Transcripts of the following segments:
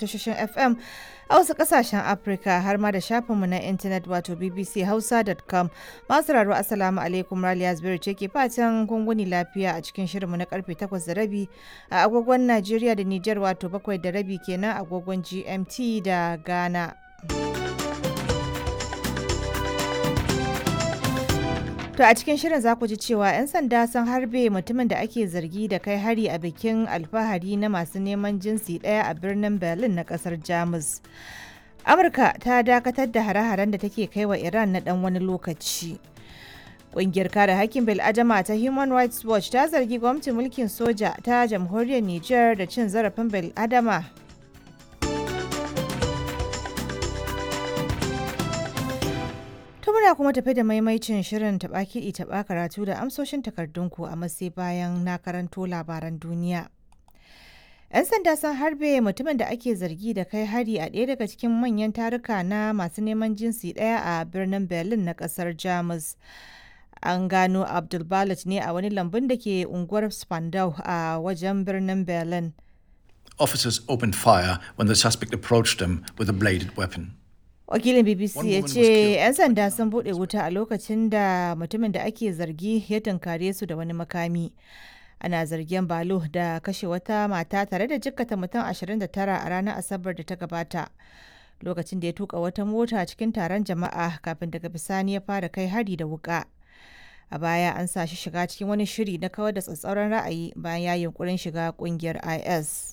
Tashoshin FM a wasu kasashen Afirka har ma da shafinmu na intanet wato bbchausa.com. Masu raro, Assalamu alaikum, Raliya Zubairu ce ke fatan gunguni lafiya a cikin shirinmu na karfe 8:30 a agogon Najeriya da Nijar, wato 7:30 kenan agogon GMT da Ghana. To a cikin shirin za ku ji cewa 'yan sanda sun harbe mutumin da ake zargi da kai hari a bikin alfahari na masu neman jinsi ɗaya a birnin Berlin na ƙasar Jamus. Amurka ta dakatar da hare-haren da take kai wa Iran na ɗan wani lokaci. Ƙungiyar kare hakkin bil'adama ta Human Rights Watch ta zargi gwamnatin mulkin soja ta jamhuriyar Nijar da cin zarafin bil'adama. To muna kuma tafi da maimaicin shirin taɓa kiɗi taɓa karatu da amsoshin takardunku, a matsayi bayan na karanto labaran duniya. 'Yan sanda sun harbe mutumin da ake zargi da kai hari a ɗaya daga cikin manyan taruka na masu neman jinsi ɗaya a birnin Berlin na ƙasar Jamus. An gano Abdul Balut ne a wani lambun da ke unguwar Spandau a wajen birnin Berlin. Officers opened fire when the suspect approached them with a bladed weapon. Wakilin BBC One ya woman was ce killed. 'yan sanda sun bude wuta a lokacin da mutumin da ake zargi ya tunkare su da wani makami. Ana zargin Balo da kashe wata mata tare da jikkata mutum 29 a ranar Asabar da ta gabata, lokacin da ya tuka wata mota cikin taron jama'a kafin daga bisani ya fara kai hari da wuka. A baya an sa shi shiga cikin wani shiri na kawar da tsatsauran ra'ayi bayan ya yunkurin shiga kungiyar IS.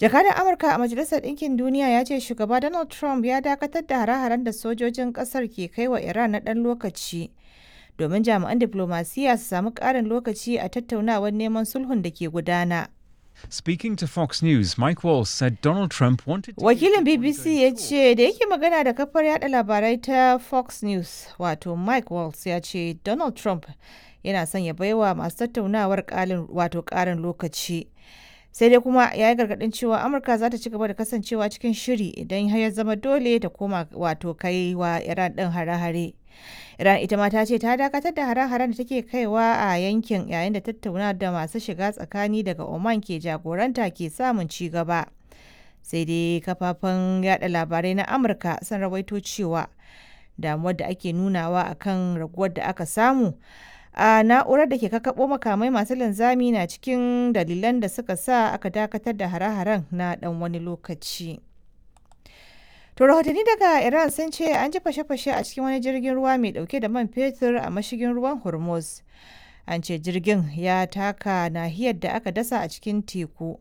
Jakadan Amurka a Majalisar Ɗinkin Duniya ya ce shugaba Donald Trump ya dakatar da hare-haren da sojojin ƙasar ke kai wa Iran na ɗan lokaci domin jami'an diflomasiyya su samu ƙarin lokaci a tattaunawar neman sulhun da ke gudana. Speaking to Fox News, Mike Walls said Donald Trump wanted to Wakilin keep the BBC ongoing ya talks ce da yake magana da kafar yada labarai ta Fox News, wato Mike Waltz ya ce Donald Trump yana son ya baiwa masu tattaunawar ƙalin wato ƙarin lokaci. Sai dai kuma ya yi gargaɗin cewa Amurka za ta ci gaba da kasancewa cikin shiri idan har ya zama dole ta koma wato kai wa Iran ɗin hare-hare. Iran ita ma ta ce ta dakatar da hare-haren da take kaiwa a yankin yayin da tattauna da masu shiga tsakani daga Oman ke jagoranta ke samun ci gaba. Sai dai kafafen yada labarai na Amurka sun rawaito cewa damuwar da ake nunawa akan raguwar da aka samu a na'urar da ke kakabo makamai masu linzami na cikin dalilan da suka sa aka dakatar da hare-haren na dan wani lokaci. To rahotanni daga Iran sun ce an ji fashe-fashe a cikin wani jirgin ruwa mai dauke da man fetur a mashigin ruwan Hormuz. An ce jirgin ya taka nahiyar da aka dasa a cikin teku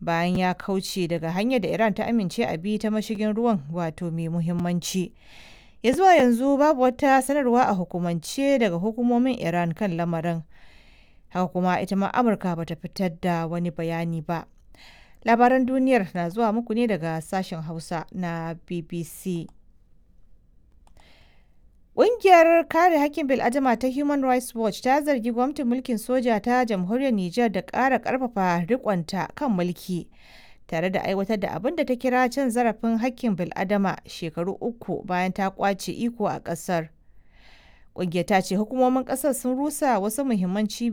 bayan ya kauce daga hanyar da Iran ta amince a bi ta mashigin ruwan wato mai muhimmanci. Ya zuwa yanzu babu wata sanarwa a hukumance daga hukumomin Iran kan lamarin. Haka kuma ita ma Amurka bata fitar da wani bayani ba. Labaran duniyar na zuwa muku ne daga sashen Hausa na BBC. Ƙungiyar kare hakkin bil'adama ta Human Rights Watch ta zargi gwamnatin mulkin soja ta jamhuriyar Nijar da ƙara ƙarfafa riƙonta kan mulki tare da aiwatar da abin da ta kira cin zarafin hakkin bil'adama shekaru 3 bayan ta ƙwace iko a ƙasar. Ƙungiyar ta ce hukumomin ƙasar sun rusa wasu muhimman cibiyoyi.